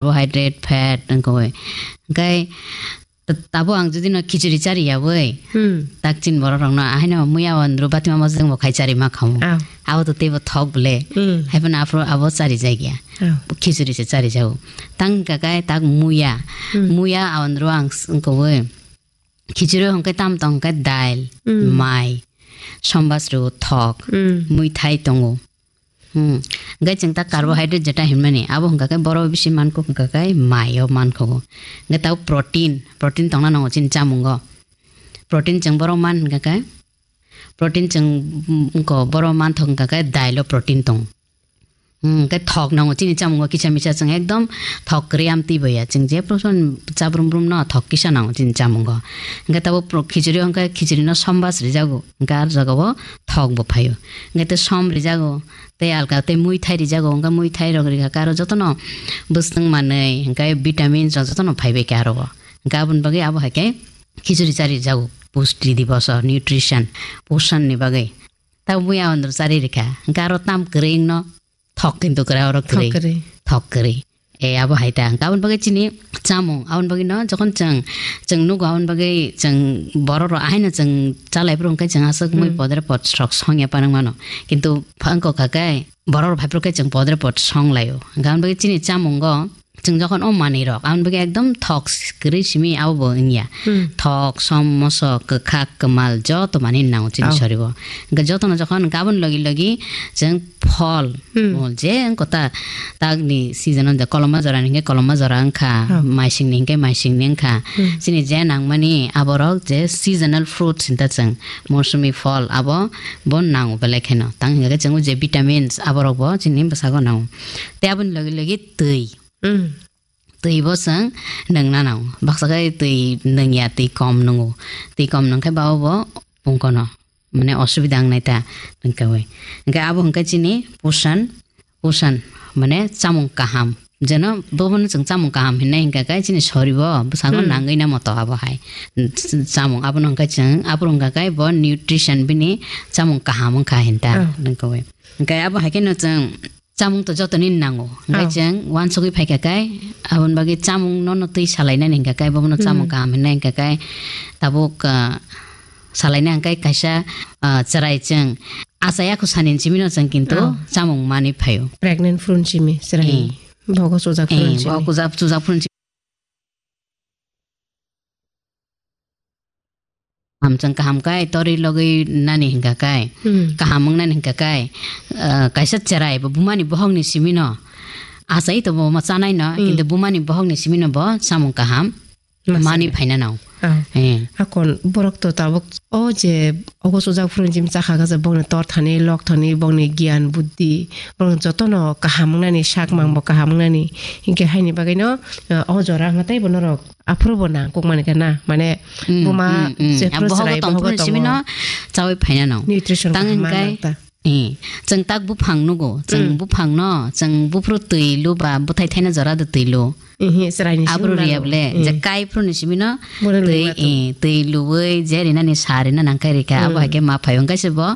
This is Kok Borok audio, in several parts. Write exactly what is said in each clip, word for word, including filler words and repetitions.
carbohydrate, fat, wngkha bai. Hwnkhe t-, tabo ang jodi no khichuri chari ya bai, Hmm. tak chin borok rok no, ahaino muya o andru batima mojang bo khai chari ma khamu. Ah. Abo to teibo thok ble. Hmm. Hai phano aphuru abo chari jagya. Ah. Khichuri se chari jago. Tang hwnkha khe tak muya. Hmm. Muya andru ang s-, wngkha bai. Khichuri hwnkhe tam tong hwnkhe dail, Hmm. mai, sombas rw thok, Hmm. muithai tongo. Hmm. Hwnkhe chwng ta carbohydrate jeta hinmani, abo hwnkha khe borok bisi mankuk hwnkha khe mai o mankhugo. Hwnkhe tabuk protein, protein tongna nango chini chamungo. Protein chwng borok man hwnkha khe, protein chwng, mm, wngkha borok manthok hwnkha khe dailo protein tongo. Hmm, hwnkhe thok nango chini chamungo kisa misa chwng ekdom thok kwrwi amtwi boya. Chwng je proson chabrum brum no thok kisa nango chini chamungo. Hwnkhe tabuk pro-, khichuri hwnkhe khichuri no sombas rijago. Hwnkhe ar jagao thok bo phaio. Hwnkhe tei som rijago. Tei alka tei muithai rijago, hwnkhe muithai rok rikha khe aro jotono bwswng manwi, hwnkhe vitamins rok jotono phaibai khe aro o. Hwnkhe aboni bagwi abo hai khe khichuri chari rijago, pusti diboso, nutrition, posan ni bagwi. Tabuk buya andro chari rikha, hwnkhe aro tam kwrwi wngno thok kintu kwrwi oro kwrwi. Thok kwrwi. Thok kwrwi. E, abo hai ta. Hwnkhe aboni bagwi chini chamung, aboni bagwi no jokhon chwng, chwng nugo aboni bagwi chwng borok rok ahaino chwng chalai phuru hwnkhe chwng aswk mui Hmm. podre pod rok songya panang mano. Kintu phangko kha khe borok rok phai phuru khe chwng podre pod song laio. Hwnkhe aboni bagwi chini chamungo chwng jokhon o manwi rok aboni bagwi ekdom thok kwrwi simi abo bo wngya. Hmm. Thok, som, mosok, kwkhak, kwmal joto manwi nango chini Oh. soribo. Hwnkhe jotono jokhon gabon logi logi chwng phol, Hmm. phol je wngkha ta, takni season o je koloma jora ni hwnkhe koloma jora wngkha, Oh. maising ni hwnkhe maising ni wngkha. Hmm. Chini je nangmani aborok je seasonal fruits hinta chwng mosumi phol abo bo nango belai kheno. Tang hwnkhe chwng o je vitamins aborok bo chini bwsago nango. Tei aboni logi logi twi. Hmm. Twi bo chwng nwngna nango. Baksa khe twi nwngya, twi kom nwngo. Twi kom nwng khe ba bo pungkono. Mane osubida wngnai ta wngkha bai. Hwnkhe abo hwnkhe chini pusan, pusan, mane chamung kaham. Jeno bobono chwng chamung kaham hinai hwnkha khe chini soribo bwskango Hmm. nangwi namo to abo hai. Chamung abono hwnkha chwng, aboro hwnkha khe bo nutrition bini chamung kaham wngkha hinta Oh. wngkha bai. Hwnkhe abo hai kheno chwng Chamung to jotoni nango. Hwnkhe Oh. chwng uansugwi phaikha khe, aboni bagwi chamung nono twi salainani hwnkha khe, bobono chamung Hmm. kaham hinai hwnkha khe, tabuk, ah, salaina hwnkhe kaisa, ah, chwrai chwng achai yakho sani simino chwng kintu Oh. chamung manwi phaio. Pregnant phuru simi chwrai. Eh. Bogo chujak phuru Eh, simi. Bogo chujak, chujak phuru simi. Kaham chwng kaham kai torwi logwi nani hwnkha kai, Hmm. kaham wng nani hwnkha kai, ah, kaisa chwrai bo buma ni bohok ni simi no achai to bo ma chanai no, Hmm. kintu buma ni bohok ni simi no bo chamung kaham Ma mani chanai. phaina no. Ah. Eh. Hakon borok to tabuk o je ogo chujak phuru jim chakha khe bokni tor thani, lok thani, bokni giyan, buddhi, borok jotono kaham wng nani, sak mang bo kaham wng nani. Hinkhe haini bagwi no, ah, o jora wngkha tei bo norok Aphuru bo nang kuk mani khe na, mane Mm, buma mm, mm. jephru Bohogo chwrai tong bohogo phuru simi tongo. No chawi phaina no. Nutrition Tang kaham hingkai, nang ta. Eh, chwng tak buphang nugo, chwng Mm. buphang no, chwng buphuru twi lu ba bwthai thaina jora de twi lu. Ihi, chwrai ni simi Aphuru mano. Riya ble, je Mm. kai phuru ni simi no Bono twi, lungma tong. Eh, twi luwi je rina ni sa rina nang kai rika, abo Mm. hai khe ma phai hingkai se bo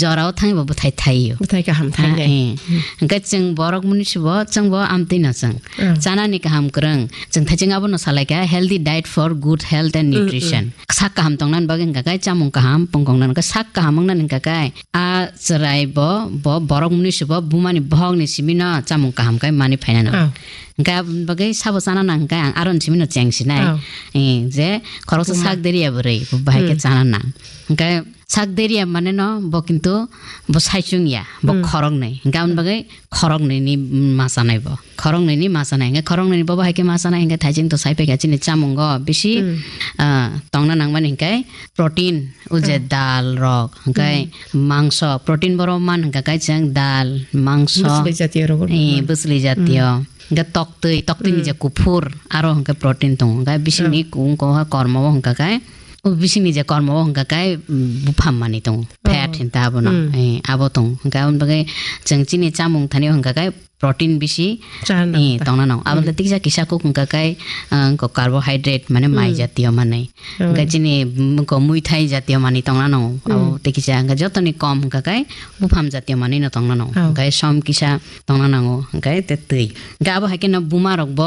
jora o thang bo bwthai thai yo. Bwthai kaham thai Ha, nai. Eh. Mm. Hingkai chwng borok muni se bo, chwng bo amtwi no chwng. Mm. Chana ni kaham kwrwng. Chwng thaiching abono salai kha, healthy diet for good health and Mm, nutrition. Mm. Sak kaham tongna ni bagwi hingka khe chamung kaham, pungkong nang khe sak kaham wngna ni hingka khe a chwrai bo, bo borok mwnwi se bo buma ni bohok ni simi no chamung kaham khe mani phaina no. Oh. Hingka aboni bagwi sabo chana nang hingka ang aro ni simi no cheng sinai. Oh. Eh, je khoroksa Buma. Sak deriya bwrwi, bo bahai khe Mm. chana nang. Hingka Sak deriya mane no bo kintu bo saichung ya, bo Hmm. khoroknwi. Hingke aboni bagwi khoroknwi ni ma chanai bo. Khoroknwi ni ma chanai. Hingke khoroknwi ni bo bahai khe ma chanai hingke thaijing to sai paikha chini chamungo bisi, Hmm. ah, tongna nangmani hingke protein, o je Hmm. dal rok, hingke Hmm. mangso, protein borok man hingka khe chwng dal, mangso, Bwsli jatiyo rok. Eh, bwsli jatiyo. Hmm. Hingke toktwi, toktwi ni Hmm. je kuphur, aro hingke protein tongo. Hingke bisingni Hmm. kung koha kormo o hingka khe, o bisingni je kormo o hingka khe, mm, buphang manwi tongo. Fat Oh. hinta abono. Hmm. Eh, abo tongo. Hingke aboni bagwi chwng chini chamung thani o hingka khe protein bisi, Chana eh, ta. Tongna nang. Abo Hmm. le tiksa kisa kuk hingka khe, ah, ko carbohydrate mane mai Hmm. jatiyo manwi. Oh. Hingke chini, mm, ko muithai jatiyo manwi tongna nango. Abo Hmm. tei kisa hingke jotoni kom hingka khe buphang jatiyo manwi no tongna nango. Oh. Hingke som kisa tongna nango. Hingke te twi. Hingke abo hai khe no buma rok bo